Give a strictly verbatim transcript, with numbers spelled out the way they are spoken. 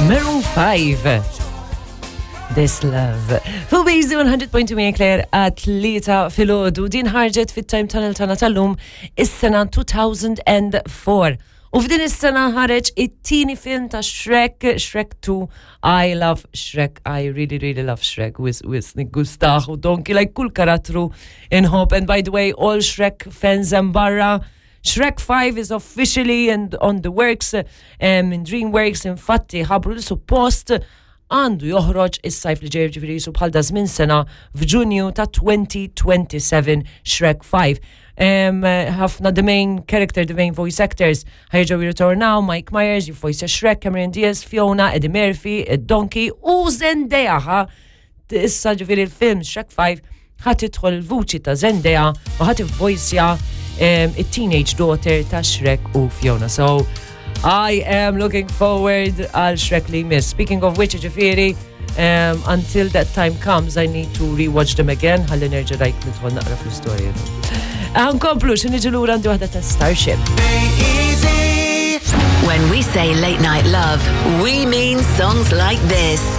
Maroon five. This Love. Fuq Easy one hundred point two Marie Claire għat-tlieta filgħodu, din ħarġet fit-Time Tunnel tagħna tal-lum is-sena two thousand and four. U f'din is-sena ħareġ it-tieni film ta' Shrek, Shrek two. I love Shrek. I really, really love Shrek. Wisq, wisq, niggustah u Donkey, like kull karattru inħobb. And by the way, all Shrek fans and barra, Shrek five is officially and on the works um, in DreamWorks. Infatti ħabru li suppost għandu joħroġ is-sajf li ġej, ġifieri su bħal da żmien sena, f'Ġunju ta' twenty twenty-seven, Shrek five. Um, ħafna the main character, the main voice actors ħa jerġgħu jirritornaw: Mike Myers, jivvoice Shrek, Cameron Diaz, Fiona, Eddie Murphy, Donkey u Zendaya. Ħa issa ġifieri il-film Shrek five ħa tidħol il-vuċi ta' Zendaya u ħa tivvoicja um, it-teenage daughter ta' Shrek u Fiona. So I am looking forward għal Shrek li jmiss. Speaking of which, ġifieri, um, until that time comes, I need to rewatch them again, ħalli nerġa' like nidħol naqra fl-istorja. Nkomplu, xi niġu lura għandi waħda ta' Starship. When we say late night love, we mean songs like this.